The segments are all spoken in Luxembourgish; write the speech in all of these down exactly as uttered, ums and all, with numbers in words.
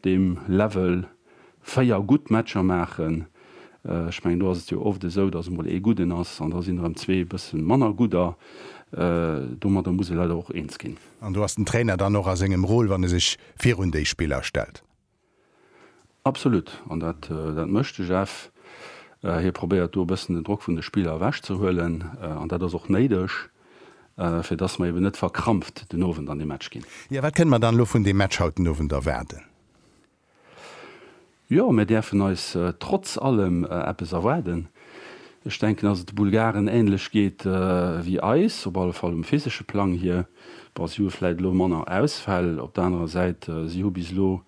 op deem Level véier gutt Matcher maachen. Ech mengen, do ass et jo oft esou, datt emol ee gudden ass an da sinn erëm zwee e bësse manner gudder. Domadder muss ee leider och eens ginn. An do ass den Trainer dann och a sengem Rôle, wann e sech virun déi Spiller stellt. Absolut. An dat dat mécht de Jeff. Hie probéiert do e bëssen den Drock vun de Spiller ewechzehuelen an dat ass och néideg, fir datt mer eben net verkrampft den Owend an dee Match ginn. Jo, wat kënne mer dann elo vun deem Match haut den Owend erwaarden? Jo, mir däerfen eis trotz allem eppes erwaarden. Ech denken, dass et de Bulgaren änlech geet wéi eis, op alle Fall um physesche Plang hier. Bon, si hu vläit elo manner Ausfäll. Op der anerer Säit, si hu bis elo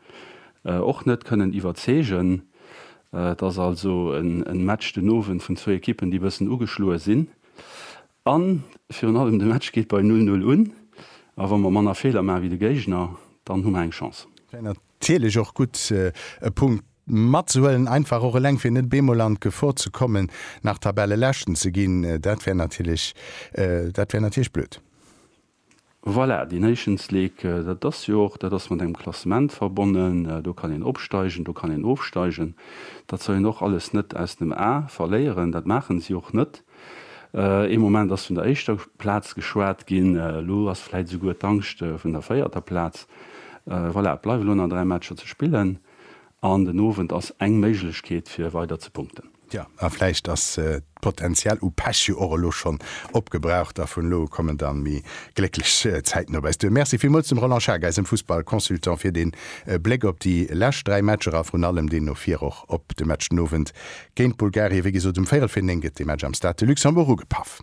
och net kënnen iwwerzeegen. Et ass also en Match den Owend vun zwou Ekippen, déi e bëssen ugeschloe sinn. A virun allem, de Match geet bei null null un. A wa mer manner Feeler maache wéi de Géigner, dann hu mer eng Chance. Natierlech och gutt e Punkt matzehuelen, einfach och eleng fir net bemol an d'Gefor ze kommen, nach Tabelleleschten ze ginn, dat wär natierlech, dat wär natierlech blöd. Voilà, déi Nations League, dat ass jo och, dat ass mat engem Klassement verbonnen, do kann een opsteigen, do kann een ofsteigen. Dat soll een och alles net aus dem A verléieren, dat maachen si och net. Ee Moment ass vun der éischter Plaz geschwat ginn, elo ass vläit esouguer d'Angscht vun der véierter Plaz. Voilà, et bleiwe elo nach dräi Matcher ze spillen an den Owend ass eng Méiglechkeet fir weider ze punkten. Jo, a vläicht ass d'Potenzial u Pech jo och elo schonn opgebraucht a vun elo u kommen da méi glécklech Zäiten op eis duer. Merci villmools dem Roland Schaack, eisem Fussball-Consultant, fir dee Bléck op déi lescht dräi Matcher a vrun allem deen no vir och op de Match den Owend géint Bulgarien. Wéi gesot, um véierel vir néng gëtt dee Match am Stade de Luxembourg ugepaff.